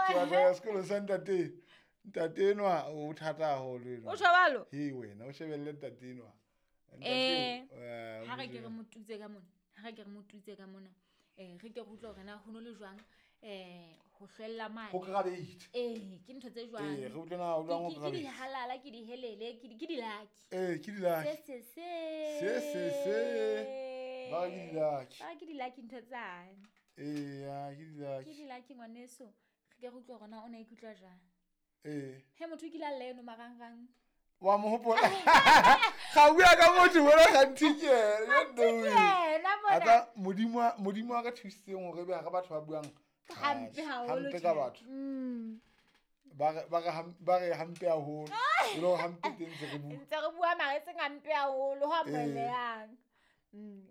Ke batla ho ya sekolong sa ntate. Ntate enwa o thata haholo enwa. O tjho jwalo? He wena o shebelle ntate enwa. Eh, Ntate, ha re ke re mo tutse ka mona, ha re ke re mo tutse ka mona, re ke re utlwe hore na ho no le jwang, ho hlwella mane. Ho krabate. Ee, ke ntho tse jwang. Ee, re utlwe na o jwang ho Ke krabate. dihalala, ke dihelele, ke di-lucky. Ee, ke di-lucky. Se, se, se. Se, se, se. Ba re ke di-lucky. Ba re ke di-lucky ntho tsane. Ee, ya, ke di-lucky. Ke di-lucky ngwaneso. Re ke re utlwe hore na o ne a ikutlwa jwang. Ee. He motho o kile a lla eno marangrang. Wa mo hopola. Ga o bua ka motho bona gantsi ke ena, you know it. Yena mona. Ata Modimo a ka thusitseng hore ebe hare batho ba buang Hampe haholo hampe ka tjhe. batho. Ba re hampe haholo. E le hore hampe teng ntse re bua. Ntse re bua mara e seng hampe haholo, ho amohelehang.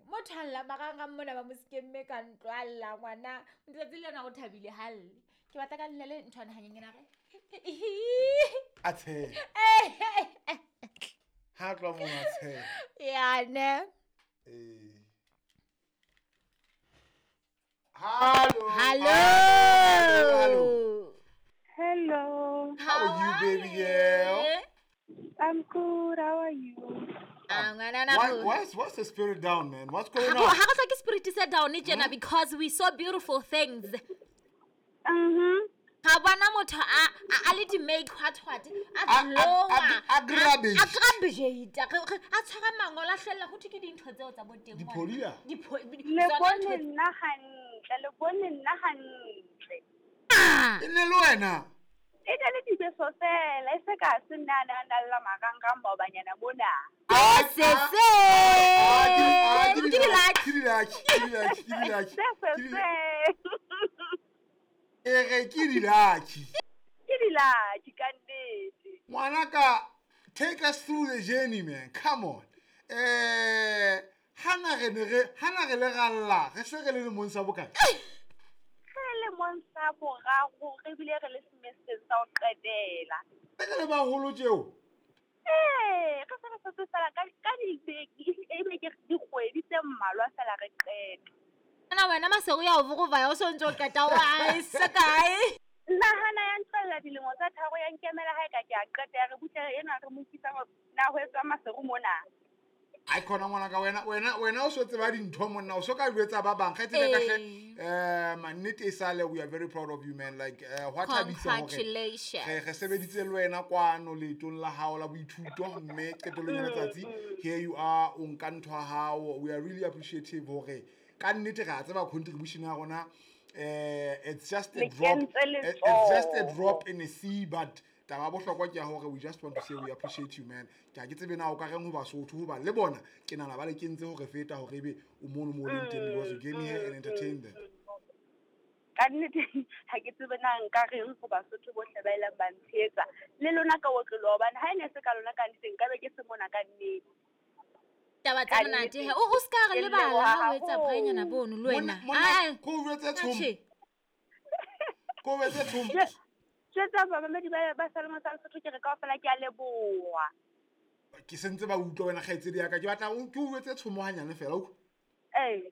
Motho a lla marangrang mona ba mo skemme ka ntlo, a lla ngwana. Letsatsi lena o thabile ha lle. Ke batla ka nna le nthwana hanyenyane a re. A tsheha. Ha tloha moo a tsheha. Ya ne. Ee. Hello. Hello. Hello. Hello. How are you, baby girl? I'm good. How are you? Ah, ngwana na Why, ho. what's the spirit down, man? What's going Ha on? re hloke spirit se down tjena because we saw beautiful things. Mm-hmm. Ga bona motho a le di-make what what, a glowa. A grabbage. A grabbage. A tshwara mangolo, a hlwella ho thwe ke dintho tseo tsa bo teng. Diphodia? Le Tsona bone ntho nna hantle, le bone nna hantle. Ah! E ne le wena? E ne le dibeso fela, e se ka se nna a ne a na lla marangrang maobanyana mona. Se, se. Ke Ke di-lucky. Ke di-lucky, ke di-lucky, ke di-lucky. Se, se, Ke di- se. E re ke di-lucky. Ke di-lucky ka nnete. Ngwanaka, take us through the journey, man. Come on. Hana re ne re, hana re le ralla, re se re le lemong sa bokae? Re lemong sa boraro, re bile re le semesteng sa ho qetela. Re le baholo tjeo? Ee, re se re setse fela ka dibeke, ebe ke dikgwedi tse mmalwa fela re qeta. Ana wena Masego ya o vokovaya, o so ntso qeta wa se kae? Nahana ya ntlella dilemo tsa tharo ya nkemela ha e ka ke a qeta, ya re butle ena re mo utlwisa hore na ho etswa Maseru mona. Ai khona ngwanaka, wena o so tseba dintho monna, o so ka jwetsa ba bang. Kgaitsedi ya ka hle, mannete e sale, we are very proud of you, man. Like, hwa thabisa hore Congratulations. re sebeditse le wena kwano leetong la hao la boithuto, mme qetellong ya letsatsi, here you are, o nka ntho ya hao. We are really appreciative hore ka nnete re a tseba contribution ya rona. It's just a Le drop, kentse it's just a letsoho. drop in the sea, but taba ya bohlokwa ke ya hore we just want to say we appreciate you, man. Ke ha ke tsebe na o ka reng ho Basotho, hoba le bona ke nahana ba le kentse hore feta hore ebe o mono mo o leng teng, because you came here and entertained them. Ka nnete ha ke tsebe na nka reng ho Basotho bohle ba ileng ba ntshehetsa le lona ka otloloha, hobane ha e ne se ka lona ka nnete nka be ke se mona ka nnete. Taba tsa Ka monate nnete. he. O ska re Ke lebala leboha ha o etsa haholo. braainyana bono le wena. Monna, Ai, ko o jwetse tshomo. Atjhe. Ko o jwetse tshomo. Jwetsa bamamedi ba Saloma sa Lesotho ke re kaofela ke a leboha. Ke sentse ba utlwa wena kgaitsedi ya ka. Ke batla ke o jwetse tshomo hanyane fela, utlwa. Ee.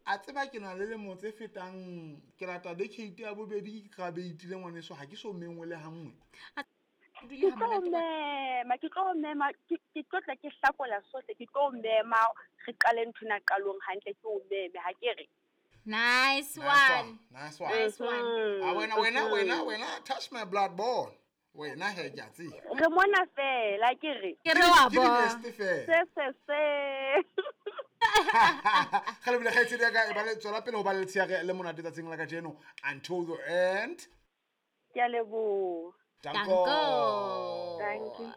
A tseba ke na le lemo tse fetang, ke lata decade ya bobedi ke graduate le ngwaneso, ha ke so mengwe le ha nngwe. Dule Ke ha tlo monate wa- mema, ke tlo mema, ke tlo tla ke hlakola sohle, ke tlo mema, re qale nthwena qalong hantle, ke o meme, ha ke re. Nice Nice one. one. Nice one. Nice one. Ah, wena, wena, wena, wena, touch my blood bone. Wena he ke a tseba. Re mona fela, ke re. Ke re wa Ke bona. di-best fela. Se, se, se. Ga le bile kgaitsedi ya ka, e ba le tswela pele ho ba le letsheare le monate tsatsing la kajeno until the end. Ke a leboha. Danko. Danko. Thank you.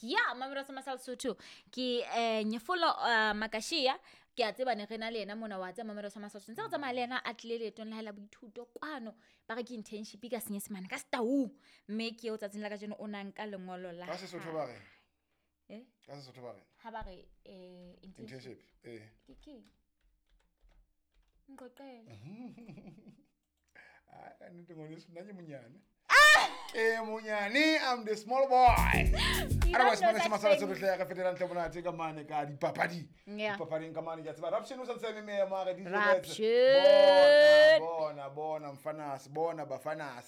Ya, mamelo sa Masal Sotho. Ke Nyefolo Makashia, ke a tseba ne re na le yena mona, wa tseba mamelo sa Masal Sotho. Ntse re tsamaya le yena a tlile leetong la hae la boithuto kwano. Ba re ke internship ka Senyesemane, ka Setaung. Mme ke eo tsatsing la kajeno o na nka lengolo la Ka Sesotho ba re? Eh? Ka Sesotho ba re? Ha ba re, internship. Internship, eh. Ke keng? Nqoqele. Ai, ka nnete ngwaneso, nna ke monyane. Ke monyane, I'm the small boy. You Otherwise, don't know mane se such masala things. se re hle re fetela ntle monate ka mane ka dipapadi. Yeah. Dipapading ka mane ke a tseba. Raption o sa ntse a eme mare di Raption. Bona, bona, bona mfanas, bona bafanas.